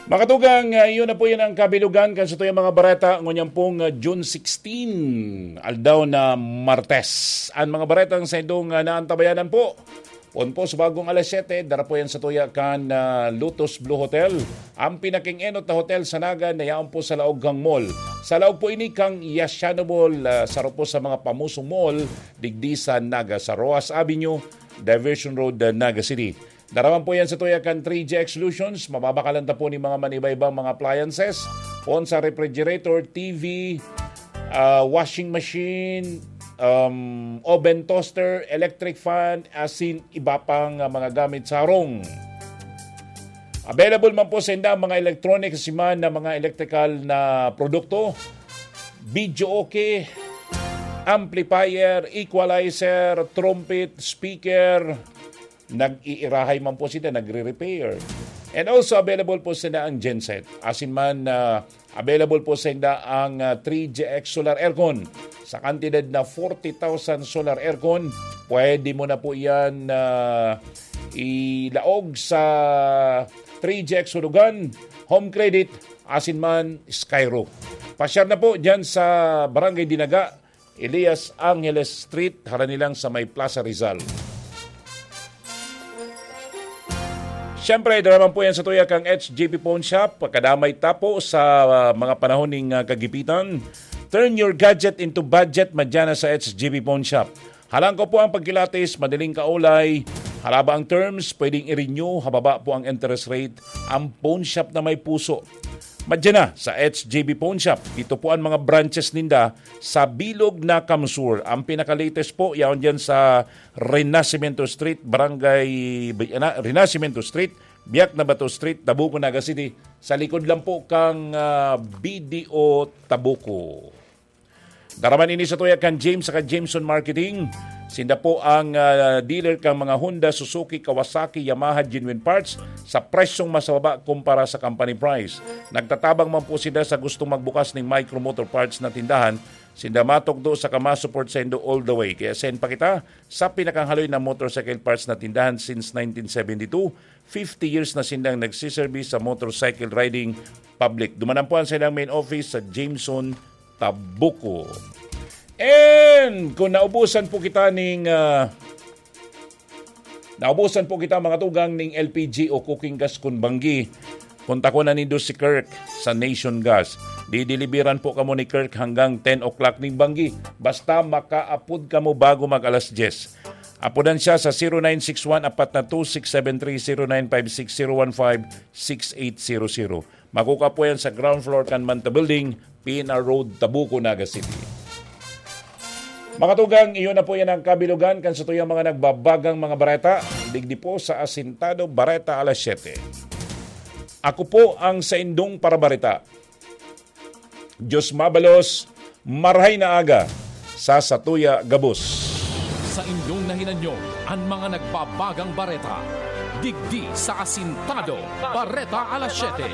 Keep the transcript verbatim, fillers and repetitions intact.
Mga tugang, ah, iyon na po yan ang kabilugan kan satuyang mga bareta ngunyan pong, ah, June sixteen, aldaw na Martes. Ang mga baretang sa indong, ah, naantabayanan po. Pon po sa bagong alas siyete, dara po yan sa tuya kan, ah, Lotus Blue Hotel. Ang pinaking-enot na hotel sa Naga na yaon po sa laog kang mall. Sa laog po ini kang Yashano Mall, ah, saro po sa mga pamusong mall, digdi sa Naga, sa Roas Avenue, Diversion Road, ah, Naga City. Daraman po yan sa tuya kan three G X Solutions. Mababakalan ta po ni mga manibaybang mga appliances. Pon sa refrigerator, T V, ah, washing machine, um, oven toaster, electric fan, asin iba pang, ah, mga gamit sa harong. Available man po sa inda ang mga electronic, siman na mga electrical na produkto, video okay, amplifier, equalizer, trumpet, speaker, nag-iirahay man po sila, nagre-repair. And also available po sila ang genset. Asin man, ah, available po sa inda ang, ah, three G X solar aircon. Sa kantidad na forty thousand solar aircon, pwede mo na po yan, ah, ilaog sa three G X Hulugan, Home Credit, asin man Skyro. Pasyar na po dyan sa Barangay Dinaga, Elias Angeles Street, harani lang sa may Plaza Rizal. Siyempre, daraman po yan sa tuya kang H J P Pawn Shop. Pagkadamay ta po sa, ah, mga panahon ning, ah, kagipitan. Turn your gadget into budget, madya na sa H J P Pawn Shop. Halangkaw po ang pagkilatis, madaling kaulay, halaba ang terms, pwedeng i-renew, hababa po ang interest rate. Ang pawn shop na may puso. Madya na sa H J B Pawn Shop. Ito po ang mga branches ninda sa bilog na Kamsur. Ang pinaka-latest po, yaon dyan sa Renacimiento Street, Barangay, ano, Renacimiento Street, Biak na Bato Street, Tabuco, Naga City. Sa likod lang po kang, ah, B D O Tabuco. Daraman ini sa tuya kan James saka Jameson Marketing. Sinda po ang, ah, dealer kan mga Honda, Suzuki, Kawasaki, Yamaha genuine parts sa presyong mas mababa kumpara sa company price. Nagtatabang man po sinda sa gustong magbukas ning Micro Motor Parts na tindahan. Sinda matukdo saka ma-support saindo all the way. Kaya send pa kita sa pinakahaloy na motorcycle parts na tindahan since nineteen seventy-two. Fifty years na sindang nagsiservice sa motorcycle riding public. Dumanan po ang silang main office sa Jameson, Tabuco. And kung naubusan po kita ning, ah, naubusan po kita, mga tugang, ning L P G o cooking gas kun banggi, kontakon na nindo si Kirk sa Nation Gas. Dideliveran po kamo ni Kirk hanggang ten o'clock ning banggi. Basta makaapod kamo bago mag alas diyes. Apodan siya sa zero nine six one apat na two six seven three, zero nine five six zero one five six eight zero zero. Makukuha po yan sa ground floor kan Manta Building, P N R Road, Tabuco, Naga City. Mga tugang, iyon na po yan ang kabilugan kan satuyang mga nagbabagang mga bareta, digdi po sa Asintado Bareta Alas Siyete. Ako po ang saindong parabareta. Diyos mabalos, marahay na aga sa satuya gabos. Sa inyong nahinanyo, ang mga nagbabagang bareta, digdi sa Asintado Bareta Alas Siyete.